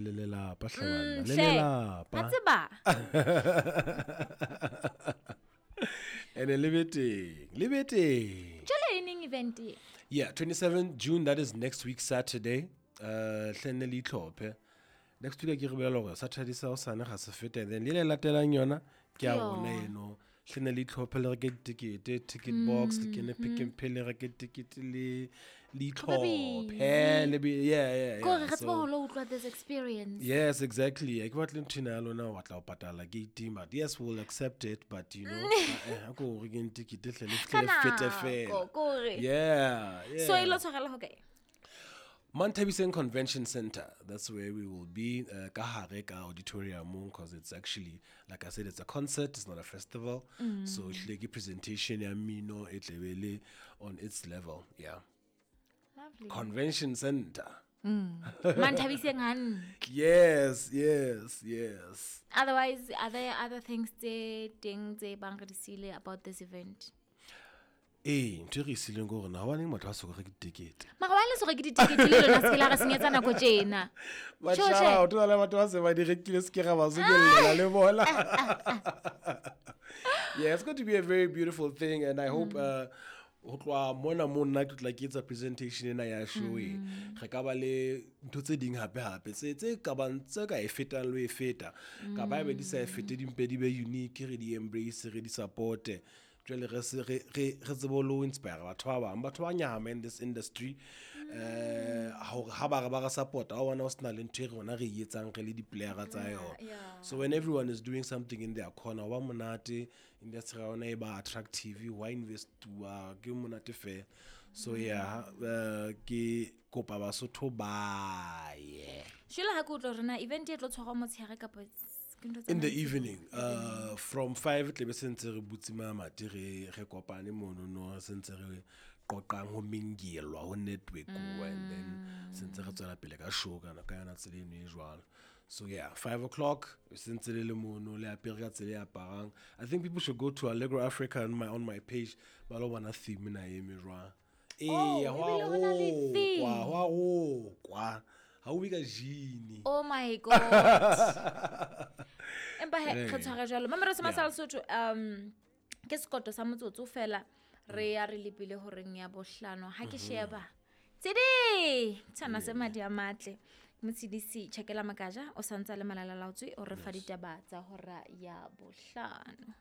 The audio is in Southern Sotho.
Le lelapa hle banna, le Hle. lelapa. Wa tseba. Ene le be teng, le be teng. Jwale e neng event e? Yeah, 27 June, that is next week Saturday. Hle nne le itlhophe. Next week ke re bolela hore Saturday sa hosane ga se fete, and then le le latelang yona ke ya rona eno. Hle nne le itlhophe, le reke ditekete, ticket box, le kene Pick n Pay, le reke ticket, le itlhophe, le be, yeah. Kore re tsebe So ho lo utlwa this experience. Yes, exactly. Ke batle ntho ena ya lona o batla ho patala gate, but yes, we'll accept it, but you know, a ko rekeng ticket hle, le Ka fihle le fete nako, fela. kore. Yeah. So e lo tshwarela ho kae? Manthabiseng Convention Center. That's where we will be. Ka hare ka auditorium, because it's actually, like I said, it's a concert, it's not a festival. So ehlile ke presentation ya mmino e tlebe le on its level. Yeah. Lovely. Convention Center. Manthabiseng hantle. Yes. Otherwise, are there other things tse teng tse bang re di siile about this event? Ee, ntho e re e siileng ke hore na hobaneng motho a soka reke ditekete. Mara wa le so reke ditekete le lona, se ke la re senyetsa nako tjena. But Tjho, shout tjhe. out, ho na le batho ba se ba di rekile, se ke ra ba sokellela le bona. Yeah, it's going to be a very beautiful thing, and I hope, ho tloha mona mo nna ke tla ke etsa presentation ena ya show e. Re ka ba le ntho tse ding hape hape tse ka bang, tse ka e fetang le ho e feta. Ka ba ebe di sa e fete, di mpe di be unique, re di embrace, re di supporte. Jwale re se, re tsebe le ho inspire batho ba bang, batho ba nyahama in this industry. Hore ha ba re ba re support, ha o bona ho sena le ntho e rona re e etsang re le di-player tsa yona. So when everyone is doing something in their corner, wa monate, industry ya rona e ba attractive, wa investuwa, ke monate fela. So yeah, ke kopa Basotho ba ye. Jwale ha ke utlwa hore na event e tlo tshwarwa motshehare kapa ke ntho tsa In the mantsibuya? evening, from 5 tle be sentse re butse mamati, re kopane mono no, sentse re qoqang, ho mingelwa, ho network, and then sentse re tswela pele ka show kana ka yona tsela eno e jwalo. So yeah, 5 o'clock sentse le le mono, le apere ka tsela e aparang. I think people should go to Allegro Africa on my page, ba lo bona theme na eme jwang. Oh, Ee, ho a ebile ho na le rokwa, theme. ho a rokwa. Ha o bue ka jean. Oh my God. Empa he, re tshware jwalo. Mamelo se masala Sotho, ke sekoto sa motsotso fela, re ya re lebile horeng ya bohlano. Ha ke sheba. Tshedi! Tshwana se madi a matle. Motshedisi Tjhakela Makaja o santsa le Malala Laotswe o re fa ditaba tsa hora ya bohlano.